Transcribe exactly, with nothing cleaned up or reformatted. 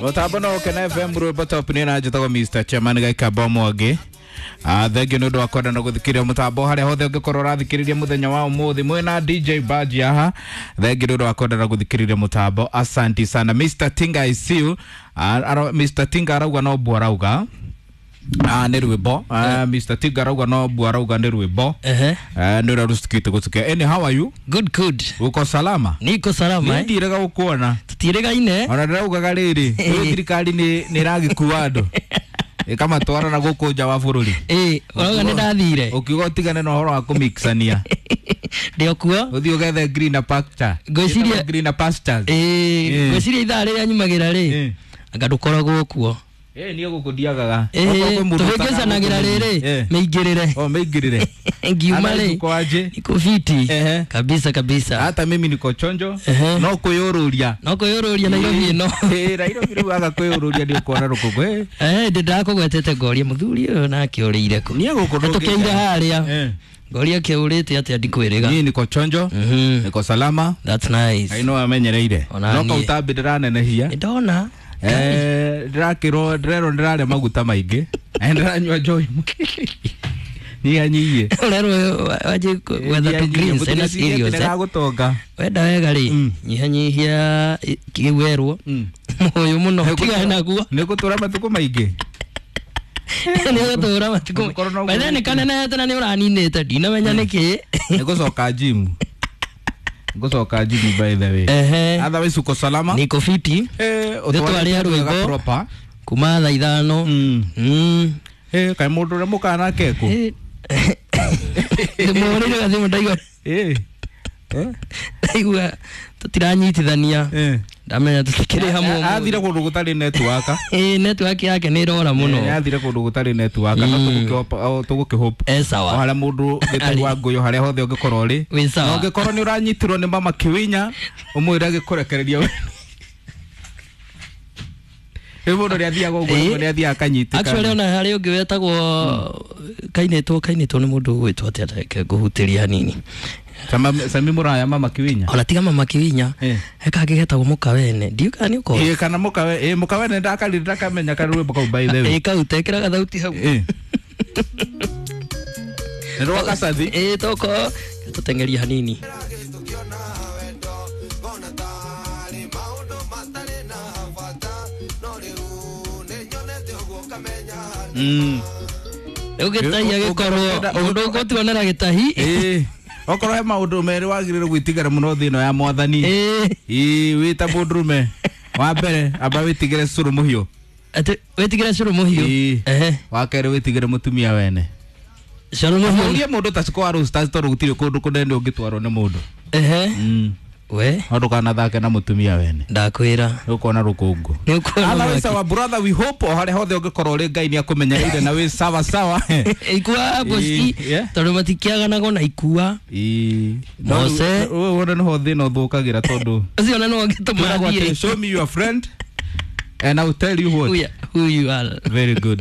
Mutambo no Kena F M rwimbo top ni na njitagwo Mister Chairman Gaikamba Mwangi. Ah, thengiũ nĩ ũndũ wa kwenda na gũthikĩrĩria mũtambo harĩa hothe ũngĩkorwo ũrathikĩrĩria mũthenya wa ũmũthĩ mwĩna D J Baji haha. Thengiũ nĩ ũndũ wa kwenda na gũthikĩrĩria mũtambo, asanti sana. Mister Tinga I see you. Ah, aro, Mister Tinga arauga no mbua arauga. Ah, nĩ rwĩmbo. Ah, Mister Tinga arauga no mbua arauga nĩ rwĩmbo. Ehe. Ah, nĩ ũrĩa rũcikĩte gũcikia. Any, how are you? Good, good. Uko salama? Niko salama eh. Ndirega gũkuona. Tutiregaine. Ona ndĩraugaga rĩrĩ, rĩu thirikari nĩ nĩ ĩragĩkua andũ. Ĩkamatwara na gũkũ nja wa bũrũri. Eh, ũrauga nĩ ndathire. Ũkiuga ũtigane na ũhoro wa kũmixania. Ndĩ o kuo. Ũthiĩ ũgethe greener pasture. Ngwĩciria greener pastures. Eh, ngwĩciria ithaa rĩrĩa nyumagĩra rĩ. Anga ndũkoragwo kuo. Eh, niĩ gũkũ ndiagaga. Eh, tũhĩngĩcanagĩra rĩrĩ, mĩingĩrĩre. Oh, mĩingĩrĩre. Ngiuma rĩ. Uko aje? Niko fiti. Kabisa kabisa. Hata mimi niko chonjo. No kwĩyũrũria. No kwĩyũrũria Nairobi ĩno. Eh, Nairobi rĩu aga kwĩyũrũria nĩ ũkuona rũkũngũ. Eh, Eh, ndĩ ndakũgwetete ngoria mũthuri ũyũ nake ũrĩire kũ. Niĩ gũkũ ndũngĩka. Tũkĩire harĩa. Ngoria kĩũrĩte atĩa ndikwĩrĩga. Niĩ niko chonjo. Niko salama. That's nice. I know amenyereire. No kautambi ndĩranenehia. Ndona. Eh, ndĩrakĩrwo ndĩrerwo ndĩrarĩa maguta maingĩ. Na ndĩranyua njohi. Nyihanyihie. Ũrerwo wanjie gwetha tũ greens na cereals. Ndĩragũtonga. Wenda wega rĩ, nyihanyihia kĩu werwo. Mũyũ mũno tigana naguo. Nĩ gũtũra matukũ maingĩ. Nĩ gũtũra matukũ. By nĩ kanenehete na nĩ ũraninĩte ndinamenya nĩkĩ. Nĩ gũcoka gym. Gũcoka gym by the way. Ehe. Otherwise uko salama? Niko fiti. Eh, ũtwarĩ rwĩmbo proper. Kuma thaa ithano. Mm. Eh, kaĩ mũndũ ũrĩa mũkanake kũ? Ndĩmũhũrĩire gathimũ ndaigua. Eh. Eh? Ndaigua tũtiranyitithania. Eh. Ndamenya tũtikĩrĩ hamwe. Athire kũndũ gũtarĩ network. Eh, network yake nĩ ĩrora mũno. Eh, athire kũndũ gũtarĩ network no tũgũkĩhope tũgũkĩhope. Eh, sawa. O harĩa mũndũ gĩtari wa ngũyũ harĩa hothe ũngĩkorwo ũrĩ. Wĩ sawa. Na ũngĩkorwo nĩ ũranyitirwo nĩ mama Kĩwinya, ũmwĩre agĩkũrekereria we. Rĩu mũndũ nĩ athiaga ũguo nĩ athiaga akanyitĩka. Actually ona harĩ ũngĩ wetagwo kainĩtwo kainĩtwo nĩ mũndũ ũgwĩtwo atĩa reke ngũhutĩria hanini. Sama Sami Muraya mama Kiwinya. Ona tiga mama Kiwinya. He kangĩ getagwo Mũkawene. Ndiũ kana nĩ ũkoĩ. Eh, kana Mũkawe, eh Mũkawene ndakarire ndakamenya karwĩmbo kau by the way. Eh, kau tekĩra gathauti hau. Eh. Nĩ rwa Kacathi. Eh, toko tũteng'eria hanini. Mm. Rĩu gĩtahi agĩkorwo mũndũ ũgũtuonera gĩtahi. Eh. Okorwo he maũndũ merĩ wagĩrĩirwo gwĩtigĩra mũno thĩ ĩno ya mwathani. Eh. Ĩĩ wĩ ta mũndũrũme. Wa mbere amba wĩtigĩre cũrũ mũhiũ. Atĩ wĩtigĩre cũrũ mũhiũ. Ehe. Wa kerĩ wĩtigĩre mũtumia wene. Cũrũ mũhiũ. Ũrie mũndũ ta Siko wa Roasters tondũ gũtirĩ kũndũ kũnene ũngĩtwarwo nĩ mũndũ. Ehe. Mm. We no ndũkanathake na mũtumia wene. Ndakwĩra. Nĩũkuona rũkũngũ. Nĩũkuona. Otherwise our brother we hope o harĩa hothe ũngĩkorwo ũrĩ Ngai nĩakũmenyereire na wĩ sawa sawa. Ikua bosti tondũ matikĩaganagwo na ikua. Ĩĩ. Mose. Wona nĩho thĩna ũthũkagĩra tondũ. Ũcio ona no ũngĩtũma athiĩ. Show me your friend and I will tell you what. Who you are. Very good.